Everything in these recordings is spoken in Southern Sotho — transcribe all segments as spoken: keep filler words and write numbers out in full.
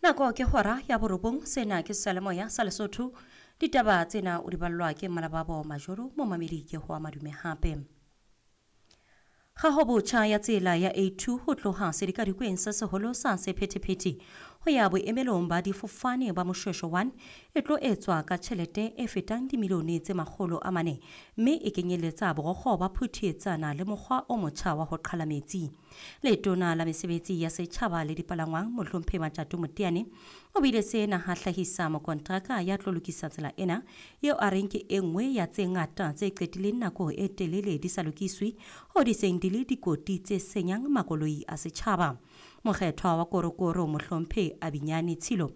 Nako ke hora ya borobong, sena ke seyalemoya sa Lesotho. Ditaba tsena o di ballwa ke Malababo Majoro, momamedi ke ho madume hape. Kgaho botjha ya tsela ya A two ho tloha sedikadikweng se seholo sa sephethephethe ho ya boemelong ba difofane ba Moshweshwe one e tlo etswa ka tjhelete e fetang dimilione tse makgolo a mane, mme e kenyeletsa borokgo ba phuthietsana le mokgwa o motjha wa ho qhala metsi. Letona la mesebetsi ya setjhaba le dipalangwang Mohlomphehi Matjato Moteane o buile sena ha hlahisa mokontraka ya tlo lokisa tsela ena eo a reng ke e nngwe ya tse ngata tse qetileng nako e telele di sa lokiswe ho di seng di le dikoti tse senyang makoloi a setjhaba. Mokgethwa wa Korokoro Mohlomphehi Abinyane Tshilo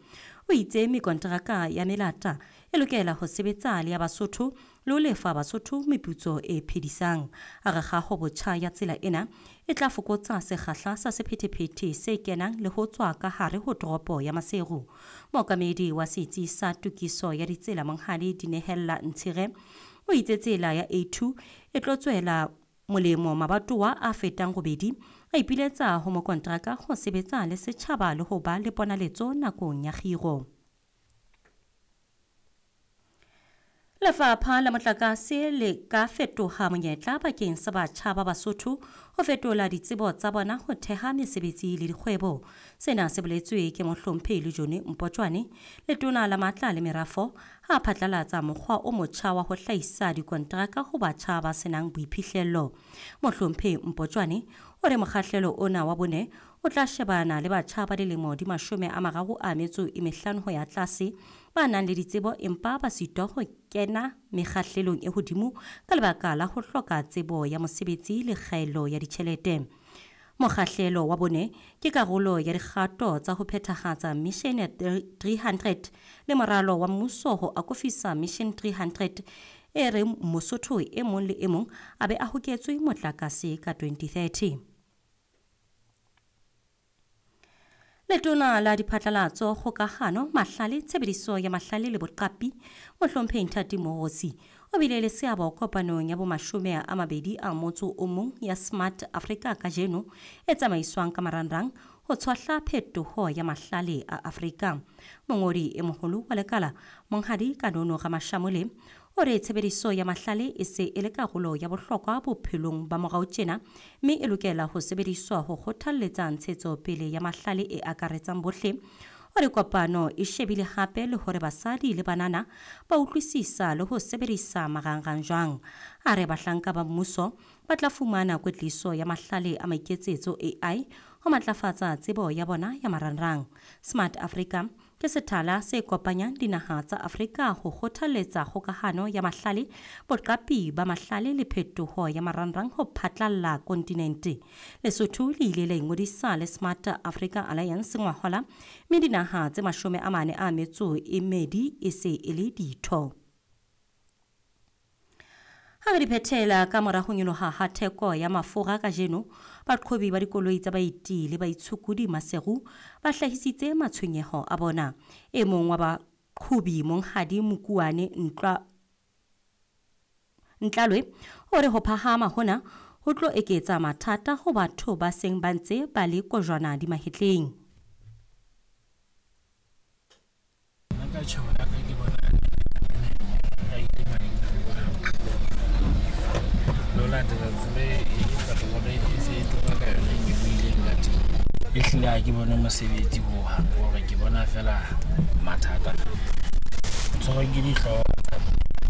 o itse mekontraka ya melata e lokela ho sebetsa le ya Basotho le ho lefa Basotho meputso e phedisang. A re kgaho botjha ya tsela ena e tla fokotsa sekgahla sa sephethephethe se kenang le ho tswa ka hare ho toropo ya Maseru. Mookamedi wa setsi sa tokiso ya ditsela Monghadi Dinehella Ntshire o itse tsela ya A two e tlo tswela molemo mabatowa a fetang robedi, a ipiletsa ho mokontraka ho sebetsa le setjhaba le ho ba le ponaletso nakong ya kgiro. Lefapha la motlakase le ka fetoha monyetla bakeng sa batjha ba Basotho ho fetola ditsebo tsa bona ho theha mesebetsi le dikgwebo. Sena se boletswe ke Mohlomphehi Lejone Mpotjwane, letona la matla le merafo, ha phatlalatsa mokgwa o motjha wa ho hlahisa dikontraka ho batjha ba senang boiphihlello. Mohlomphehi Mpotjwane o re mokgahlelo ona wa bone o tla shebana le batjha ba dilemo di mashome a mararo a metso e mehlano ho ya tlase ba nang le ditsebo empa ba sitwa ho kena mekgahlelong e hodimo ka lebaka la ho hloka tsebo ya mosebetsi le kgaello ya ditjhelete. Mokgahlelo wa bone ke karolo ya dikgato tsa ho phethahatsa Mission three hundred le moralo wa mmuso ho akofisa Mission three hundred e reng Mosotho e mong le e mong a be a hoketswe motlakase ka twenty thirty. Letona la diphatlalatso, kgokahano, mahlale, tshebediso ya mahlale le boqapi, Mohlomphehi Nthati Moorosi o bile le seabo kopanong ya bomashome a mabedi a motso o mong ya Smart Africa kajeno e tsamaiswang ka marangrang ho tshwahla phetoho ya mahlale a Afrika. Mongodi e moholo wa lekala Monghadi Kanono Ramashamole o re tshebediso ya mahlale e se e le karolo ya bohlokwa bophelong ba morao tjena, mme e lokela ho sebediswa ho kgothalletsa ntshetsopele ya mahlale e akaretsang bohle. O re kopano e shebile hape le hore basadi le banana ba utlwisisa le ho sebedisa marangrang jwang. A re bahlanka ba mmuso ba tla fumana kwetliso ya mahlale a maiketsetso A I ho matlafatsa tsebo ya bona ya marangrang. Smart Africa ke sethala se kopanyang dinaha tsa Afrika ho kgothalletsa kgokahano ya mahlale, boqapi ba mahlale le phetoho ya marangrang ho phatlalla kontinente. Lesotho le ile la ingodisa le Smart Africa Alliance ngwahola, mme dinaha tse mashome a mane a metso e mmedi e se e le ditho. Ha re di phethela ka mora ho nyoloha ha theko ya mafura kajeno, baqhobi ba dikoloi tsa baeti le baitshokodi Maseru ba hlahisitse matshwenyeho a bona. E mong wa baqhobi Monghadi Mokuane Ntlwa Ntlalwe o re ho phahama hona ho tlo eketsa mathata ho batho ba seng ba ntse ba le kojwana di mahetleng. Nna ka tjhebo ya ka ke bona latela tsela e petrol e se e tura ka yona e nyolohileng ka teng. Ehlile ha ke bone mosebetsi hohang, hore ke bona feela mathata. Tshwarwa ke dihlooho.